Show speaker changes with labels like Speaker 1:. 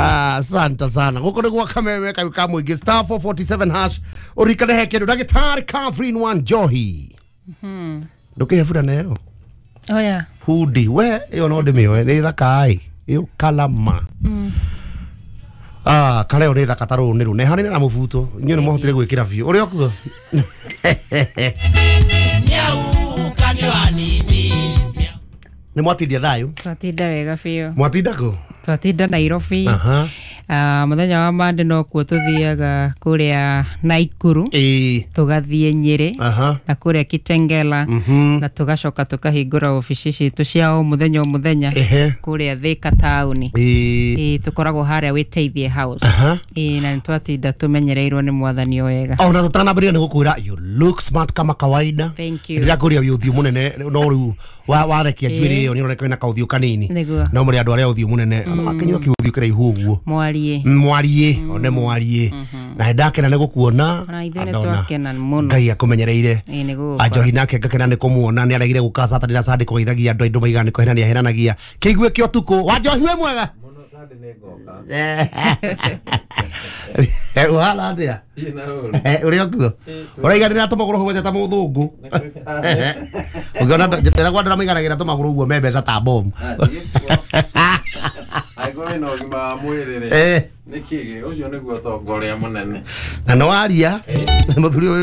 Speaker 1: Asante sana. Guku nĩ gwa kameme kayu ka mũingĩ *447# ũririkane he kĩndũ ndagĩtarĩ Catherine Wanjohi. Ndũkĩhe burana ĩyo.
Speaker 2: Oya.
Speaker 1: Hudi we ĩyo no ndĩmĩoe nĩ thaka ĩ ĩyo kalama. Ah, kareo nĩ thaka ta rũrũ nĩ rũ nehanĩre na mũbuto inyuĩ nĩ mwahotire gwĩkĩra biũ ũrĩa ũkuo. Nĩ mwatindia thayũ?
Speaker 2: Twatinda wega biũ.
Speaker 1: Mwatinda kũ?
Speaker 2: Twatinda Nairobi.
Speaker 1: Aha.
Speaker 2: Mũthenya wa Monday no kuo tuthiaga kũrĩa Naikuru.
Speaker 1: Ĩĩ.
Speaker 2: Tũgathiĩ Nyĩrĩ.
Speaker 1: Aha.
Speaker 2: Na kũrĩa Kitengela. Na tũgacoka tũkahingũra obici citũ cia o mũthenya o mũthenya.
Speaker 1: Ehe.
Speaker 2: Kũrĩa Thika taũni.
Speaker 1: Ĩĩ.
Speaker 2: Ĩĩ, tũkoragwo harĩa Wĩteithie House.
Speaker 1: Aha.
Speaker 2: Ĩĩ, na nĩtwatinda tũmenyereirwo nĩ mwathani o wega.
Speaker 1: Ona tũtanambĩrĩria nĩ gũkwĩra you look smart kama kawaida.
Speaker 2: Thank you.
Speaker 1: Ndĩrakũria wĩ ũthiũ mũnene no rĩu warekia njuĩrĩ ĩyo nĩ ũroneka wĩna kaũthiũ kanini.
Speaker 2: Nĩguo.
Speaker 1: No mũrĩ andũ arĩa ũthiũ mũnene akĩnyua kĩũthiũ kĩraihu ũguo.
Speaker 2: Mwariĩ.
Speaker 1: Mwariĩ, one mwariĩ. Na nĩndakena nĩ gũkuona.
Speaker 2: Ona ithuĩ
Speaker 1: Andona.
Speaker 2: nĩtwakena mũno.
Speaker 1: Ngai akũmenyereire.
Speaker 2: Ĩĩ, nĩ gũgũkora.
Speaker 1: Anjohi nake ngakena nĩ kũmuona nĩ aregire gũka Saturday na Sunday kũgeithagia andũ aingĩ maigaga nĩ kũhenania ahenanagia. Kĩigue kĩa ũtukũ. Wanjohi wĩ mwega?
Speaker 3: Mũno Sunday nĩ ngoka.
Speaker 1: Ũhana atĩa?
Speaker 3: Thiĩ na ũru.
Speaker 1: Ũrĩa ũkuo? Ũraiga ndĩratũmagũrũ hũgwete ta mũthũngũ. Ũngĩona ndĩragwa ndĩramaiganagĩra tũmagũrũ ũguo me mbeca ta bomu.
Speaker 3: Angĩkorwo wĩna ũgima wa mwĩrĩ rĩ,
Speaker 1: Eh.
Speaker 3: nĩ kĩgĩ ũcio nĩguo ũtonga ũrĩa mũnene.
Speaker 1: Na nĩ waria mũthuri ũyũ.